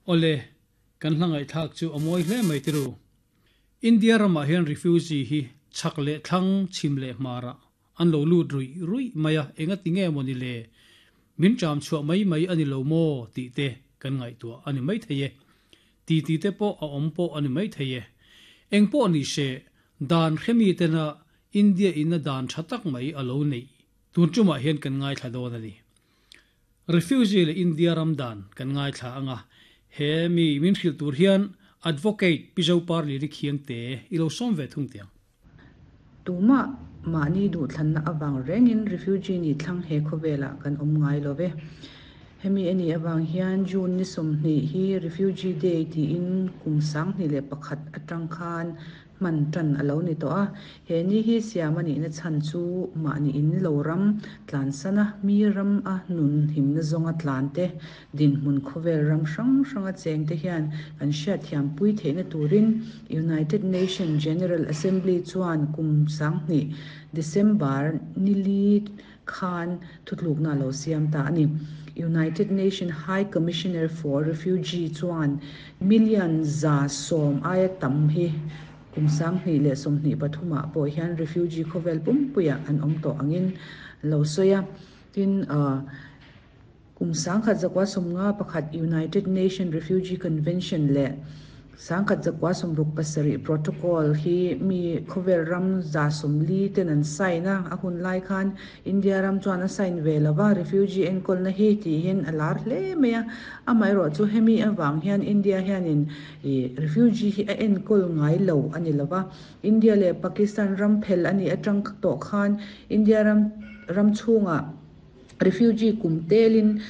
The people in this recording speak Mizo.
Awle, kan hla ngaihthlak chu a mawi hle mai tiru. India ramah hian refugee hi chhak leh thlang, chhim leh hmarah an lo lut ruih ruih mai a, engati nge maw ni le? Min ṭam chhuah mai mai a ni lo maw tih te kan ngaihtuah a ni maithei e. Titi te pawh a awm pawh a ni maithei e. Eng pawh ni se, dan hremi tena India in a dan tha tak mai a lo neih tun tumah hian kan ngaithla dawn a ni. Refugee leh India ram dan kan ngaithla ang a, he mi min hrilh tur hian Advocate Pi Zoparlili Khiangte i lo sawm ve thung tiang. Tumah mahni duhthlanna avang rengin refugee nih thlang he khawvelah kan awm ngai lo ve. Hemi a nih avang hian June ni 20 hi Refugee Day tiin kum 2001 atang khan hman tan a lo ni tawh a. He ni hi siam a nihna chhan chu mahni in lo ram tlansana mi ram a nun himna zawnga tlan te, dinhmun khawvel ram hrang hranga cheng te hian kan hriatthiam pui theihna turin United Nation General Assembly chuan kum 2000 December ni li khan thutlukna a lo siam ta a ni. United Nation High Commissioner for Refugee chuan million 110 aia tam hi kum 2023ah pawh hian refugee khawvel pumpuiah an awm tawh angin lo sawi a. Tin, kum 1951 United Nation Refugee Convention leh 1967 Protocol hi mi khawvel ram 140 ten an sign a, a hun lai khan India ram chuan a sign ve lova, refugee enkawlna hi tihin a lar hle mai a. Amaherawh chu hemi avang hian India hianin refugee hi a enkawl ngai lo a ni lova. India leh Pakistan ram phel a nih atang tawh khan India ram ram chhungah refugee kum telin.